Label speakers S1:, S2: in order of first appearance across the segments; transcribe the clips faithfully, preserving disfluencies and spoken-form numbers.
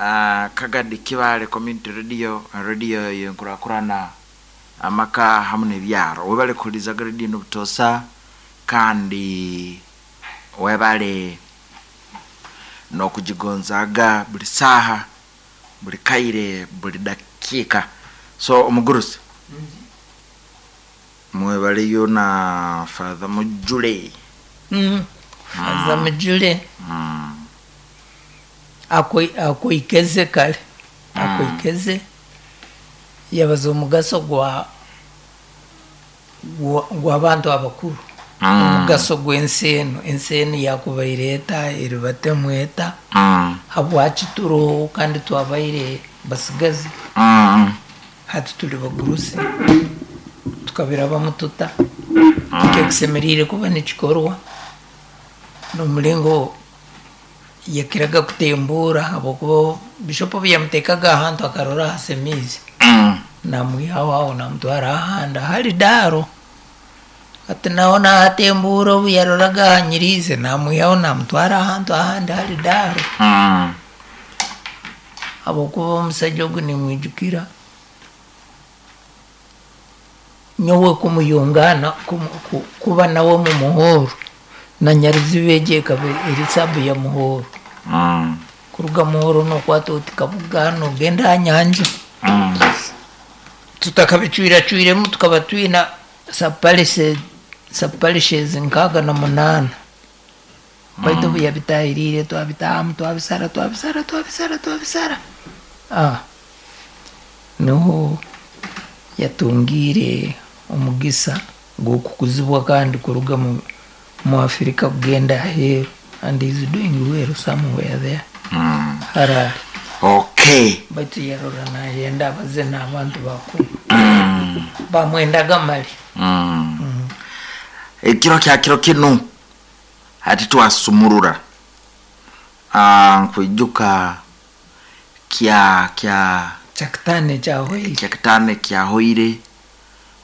S1: uh, Kagadi Kibale Community Radio, radio yenkurakurana amaka hamu n'ebyaro. Webale kuhulizaga radio n'obutosa, kandi webale n'okugigonzaga buli saaha, buli kaire, buli dakiika. So omugurusi mwebaleyo na Father Mujule.
S2: Mm. Father Mujule.
S1: Mm.
S2: Akoikeze kale akoikeze yabaza omugaso gwa gw'abantu abakuru, omugaso gw'ensi eno, ensi eno yakubaire eta eribatemu eta, habwaki turoho kandi twabaire basigazi, hati tuli bagurusi tukabirabamu tuta, kikekisemeriire kuba nikikorwa n'omulingo yakiraga kutembura, habwokuba bishop obu yamuteekaga ahantu akarora hasemiize, namwihaho aho namutwara ahandi hali daaro, hati naho nahatembura obu yaroraga ahanyiriize namwihaho namutwara ahantu ahandi hali daaro, habwokuba omusaija ogu nimwijukira nyowe kumuyungana kuba nawe mu muhooro na Nyaruziba egi ekaba eri sabu ya muhooro, kuruga muhooro nokwata oti Kabuga nogenda aha nyanja, tutakabicwiracwiremu tukaba twina subparishes nkaaga na munaana, baitu obu yabitahiriire twabitahamu twabisara twabisara twabisara twabisara, niho yatungiire omugisa gw'okukuzibwa kandi kuruga mu mu Afrika kugenda aheeru, and he's doing well somewhere there.
S1: Mm.
S2: Harare.
S1: Okay.
S2: Baitu yarora nayenda abaze n'abantu bakuru. Mm. Bamwendaga mali.
S1: Mm. Mm. Ekiro kya kiro kinu hati twasumurura. Ah, nkwijuka kya kya
S2: kyakitane kyahoire.
S1: Kyakitane kyahoire.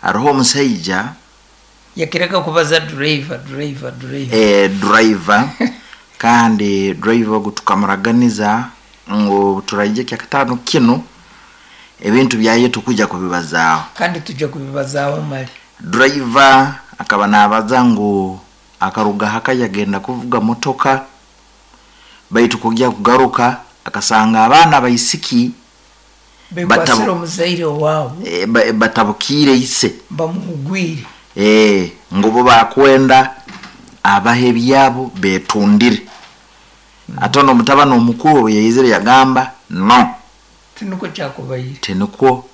S1: Hariho omusaija
S2: yakireka kubaza driver driver driver
S1: eh driver kandi driver ogu tukamuraganiza ngu turaije kyakatano kino ebintu byaye tukuja kubibazaaho
S2: kandi tujja kubibazaaho mali.
S1: Driver akaba nabaza ngu akaruga haka yagenda kuvuga motoka, baitu kujya kugaruka akasanga abaana baisiki
S2: bekwasira omuzaire waabo
S1: e, batabukire ise
S2: bamuhugwire
S1: eh ngubo bakwenda abahe byabo betundire. Mm. Atono mutabano omukuru yayizire yagamba no
S2: tinuko kyakubaire
S1: tinuko